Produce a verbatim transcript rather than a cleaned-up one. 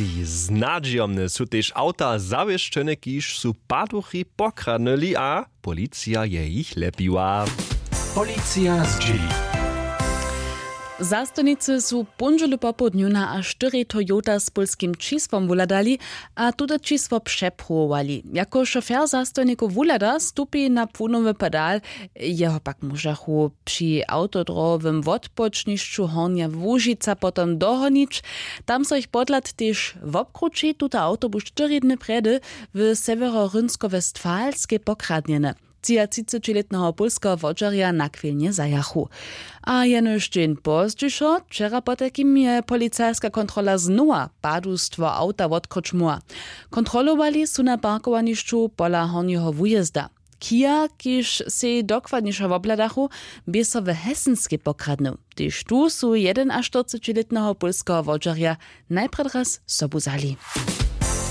Znadźijomne su tež awta zawěsćene, kiž su paduchi pokradnyli, a policija je jich lepiła. Policija zdźěli. Zastojnicy su póndźelu popołdnju na a štyri Toyota z pólskim čisłom wuhladali a tute čisło přepruwowali. Jako šofer zastojnikow wuhlada, stupi na płunowy pedal. Jeho pak móžachu při awtodrowowym wotpočnišću Hornja Łužica potom dohonić. Tam so jich podhlad tež wobkrući. Tuta awto bu štyri dny prjedy w Sewjeroryńskowestfalskej pokradnjeny. Třiatřicećilětneho pólskeho wodźerja nachwilnje zajachu. A jenož dźeń pozdźišo, wčera potajkim, je policajska kontrola znowa padustwo awta wotkryć móhła. Kontrolowali su na parkowanišću pola hornjeho wujězda. Kia, kiž sej dokładnišo wobhladachu, bě so w Hesenskej pokradnył. Tež tu su jedenaštyrcećilětneho pólskeho wodźerja najprjedy raz sobu wzali.